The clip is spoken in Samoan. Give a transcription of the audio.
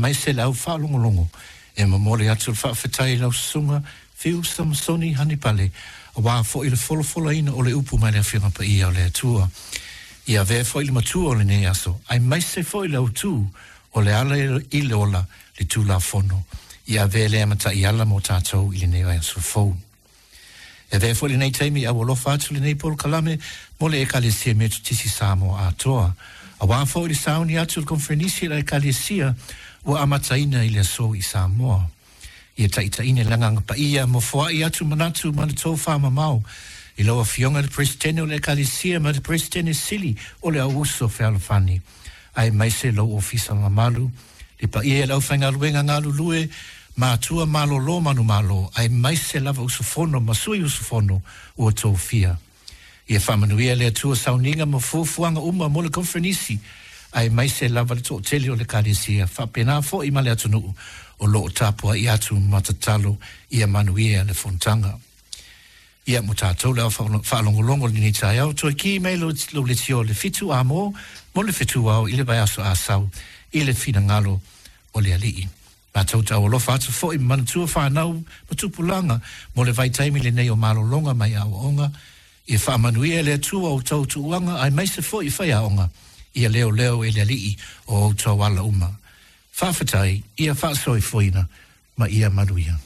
Aemaise le au faalogologo e momoli atu le faafetai i lau Susuga Fiu Samasoni Hanipale aua foi le folafolaina o le upu mai le Afioga Paia o le Atua. Ia avea foi le matua o lenei aso, aemaise foi le autu o le ala i le ola, le Tulafono. Ia avea lea ma taiala mo tatou i lenei vaiaso fou. E avea foi lenei taimi e aualofa atu lenei polokalame mo le Ekalesia Metotisi Samoa atoa, aua foi le sauni atu o le Koneferenisi a le Ekalesia ua amataina i le aso i Samoa. Ia taitaiina i le Agaga Paia ma foai atu manatu ma le tofa mamao i lau Afioga i le Peresetene o le Ekalesia ma le Peresetene Sili o le Au Uso Fealofani, aemaise lou ofisa mamalu, le paia i le aufaigaluega galulue, matua malolo manumalo, aemaise lava usufono ma sui usufono ua tofia. Ia faamanuia le Atua sauniga ma fuafuaga uma mo le koneferenisi, aemaise lava le toatele o le Ekalesia, faapena foi ma le atunuu o lo o tapuai atu ma tatalo ia manuia le fonotaga. Ia, mo tatou le au faalogologo i lenei taeao, toe ki mai lou leitio i le 7 amo mo le fetu ao i le vaiaso Asau i le finagalo o le Alii. Matou te aualofa atu foi ma manatua fanau ma tupulaga mo le vaitaimi lenei o malologa mai aoaoga. Ia faamanuia e le Atua outou tuuaga aemaise foi faiaoga. Ia leoleo e le Alii o outou ala uma. Faafetai, ia faasoifuaina ma ia manuia.